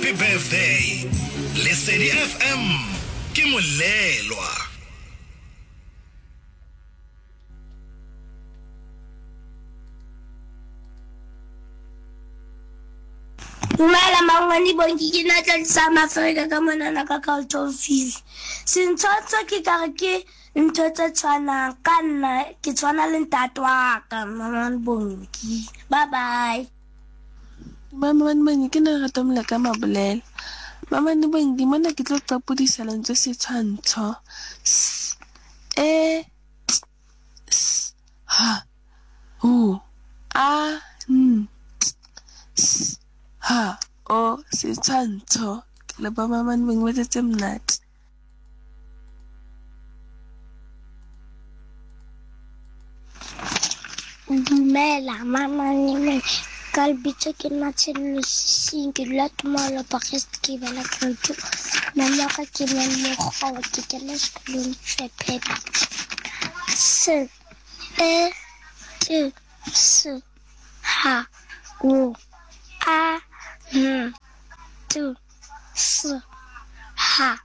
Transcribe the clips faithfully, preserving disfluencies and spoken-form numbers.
Happy birthday. Lesedi F M ke molelwa. Dumela mangwane Bongi, ke nna Tlalisa Mafrika ka monana ka Carltonville. Sentshwantsho ke ka re ke ntho tse tshwanang ka nna, ke tshwana le ntate wa ka mangwane Bongi. Bye bye. Mangwane Bongi, ke nna Lerato Moleka Mabolela. Mangwane Bongi, mona ke tlo qapodisa lentswe setshwantsho. S E T S H U A N T S H O, setshwantsho. Ke leboha Mangwane Bongi, ba tletse monate. Dumela Mangwane, ka lebitso ke nna Tshenolo Sising, ke dula Tumelo Parest, ke bala grade two. Mama wa ka ke Mmamokgowa, ke kena sekolong Tshephe. S E T S H O A N T S H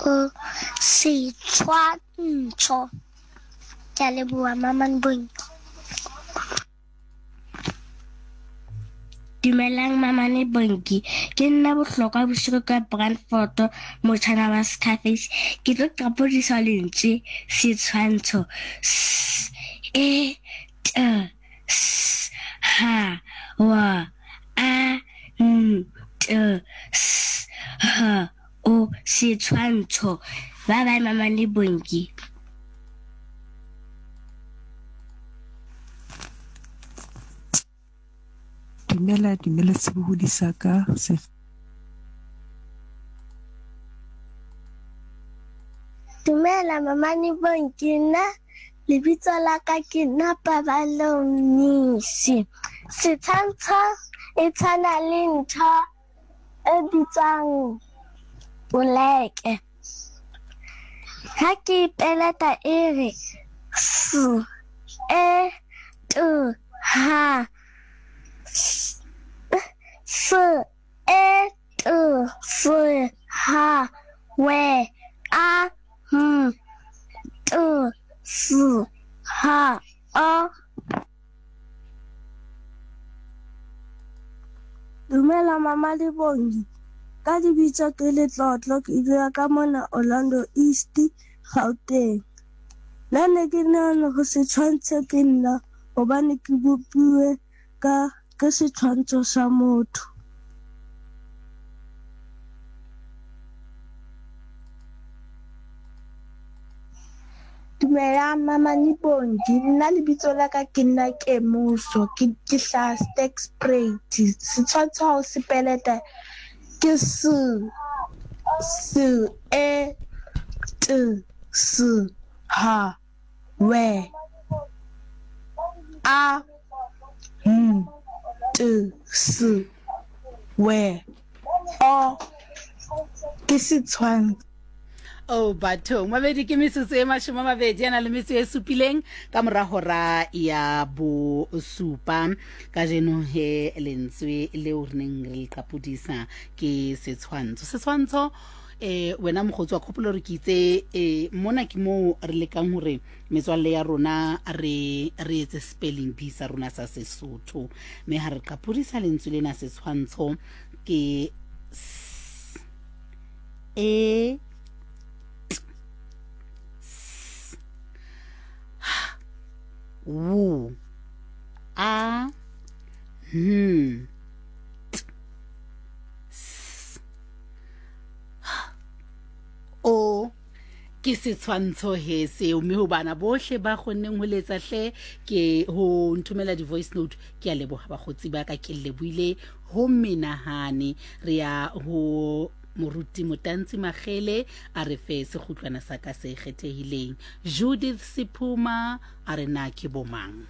O, setshwantsho. Ke a leboha Mangwane Bongi. Dumelang Mangwane Bongi, ke nna Bohlokwa Bosigo ka Brandfort, motjhana wa Scarface. Ke tlo qapodisa lentswe setshwantsho. S E T S H W A N T S H O, setshwantsho. Bye bye Mangwane Bongi. Dumela, dumela sebohodi sa ka se. Dumela Mangwane Bongi, nna lebitso la ka ke nna Paballo Mnisi. Setshwantsho e tshwana le ntho e bitswang poleke. Ha ke peleta e re S E T H S E T S H W A M T S H O. Dumela Mama Bongi, ka lebitso ke Letlotlo, ke dula ka mona Orlando East, Gauteng. Nna ne ke nahana hore setshwantsho ke nna hobane ke bopuwe ka ke setshwantsho sa motho. Dumelang Mangwane Bongi, nna lebitso la ka ke nna Kemuso, ke ke hlaha Sterkspruit. Setshwantsho ha o se peleta ke S S E T S H W A M T S W O, ke setshwantsho. Oh bathong, mabedi ke metsotso e mashome a mabedi a na le metso e supileng ka mora hora ya bosupa. Kajeno he lentswe leo re neng re le qapodisa ke setshwantsho. Setshwantsho eh wena mokgotsi wa kgopolo re ke itse eh mona ke moo re lekang hore metswalle ya rona re re etse spelling bee sa rona sa Sesotho. Mme ha re qapodisa lentswe lena setshwantsho ke S E T S H W A N T S H O, ke setshwantsho he seo. Mme ho bana bohle ba kgonneng ho letsa hle ke ho nthomela di-voice note, ke a leboha bakgotsi ba ka, ke lebohile ho menahane. Re ya ho Moruti Motantsi Magele a re fe sekgutlwana sa ka se kgethehileng. Judith Sephuma a re na ke bomang.